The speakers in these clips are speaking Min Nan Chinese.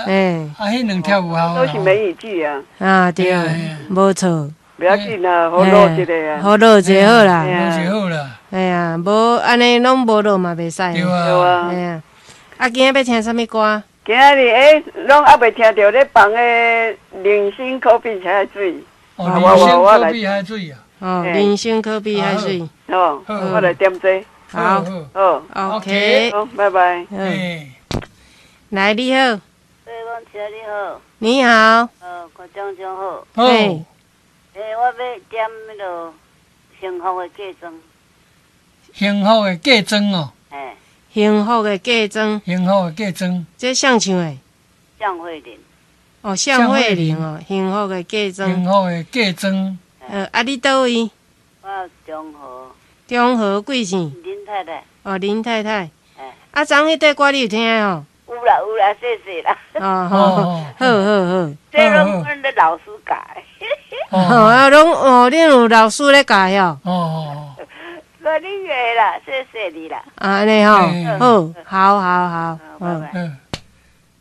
欸，啊，彼兩條有效。都是梅雨季啊。啊，對，無錯。袂要緊啦，好落一个啊。好落一个好啦。落一个好啦。哎呀，無按呢攏無落嘛袂使。對啊。哎呀，啊，今仔欲聽啥物歌？今仔日欸，攏猶未聽著咧放的人生可比海水。哦，人生可比海水啊。哦，人生可比海水。哦，我來點這。好。好。 OK。好，拜拜。嗯。來，你好。你好。你好。郭將軍好。嘿。欸，我欲點彼个幸福的嫁妝。幸福的嫁妝哦。欸。幸福的嫁妝。幸福的嫁妝。這誰唱的？向慧玲。哦，向慧玲哦，幸福的嫁妝。幸福的嫁妝。啊，你佗位？我中和。中和貴姓？林太太。哦，林太太。欸。啊，昨彼塊歌你有聽哦？有啦有啦，謝謝啦。哦，好，好好好。這攏阮的老師教。哦，啊，攏哦，恁有老師咧教喲。哦。我你個啦，謝謝你啦。啊，按呢吼，好，好，好，好，嗯。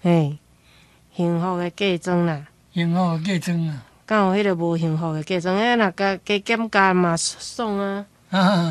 嘿，幸福的嫁妝啦。幸福的嫁妝啊。敢有彼个無幸福的嫁妝？啊，若加加減加嘛爽啊。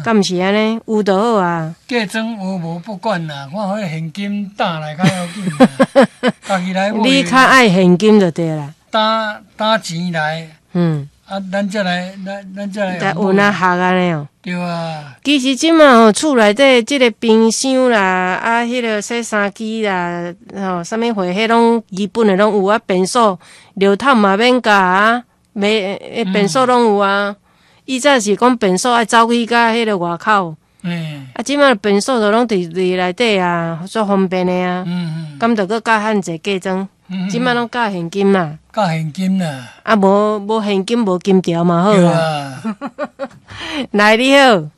敢毋是按呢？有就好啊。嫁妝有無不管啦，看彼現金擔來較要緊啦。家己來買。你較愛現金就對啦。擔擔錢來。嗯。啊，咱才來，咱咱才來。來有哪學按呢哦？對啊。其實這馬吼，厝內底這个冰箱啦，啊，彼个洗衫機啦，吼，啥物貨，彼攏基本的攏有啊。便所、尿桶嘛免加啊，袂，便所攏有啊。以前是講便所愛走去共彼个外口。啊，這馬便所都攏佇佇內底啊，足方便的啊。敢著閣加遐濟嫁妝？這馬攏加現金嘛。加現金啦。啊，無無現金無金條嘛好啦。來，你好。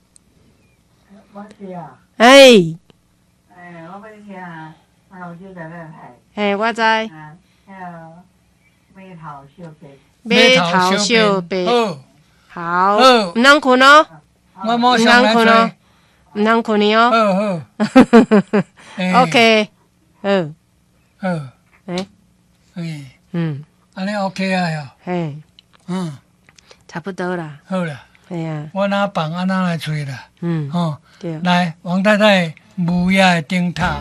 我是啊。哎。欸，我欲聽老師在咧嘿，我知。啊，彼个碼頭小白。碼頭小白。好。毋通睏哦。我毋通睏哦。毋通睏去哦。好好。 OK。好。好。欸。欸。嗯。按呢 OK 啊喲。嘿。嗯。差不多啦。好啦。嘿啊。我若放按怎來揣啦？嗯。吼。對。來，王太太，無影的燈塔。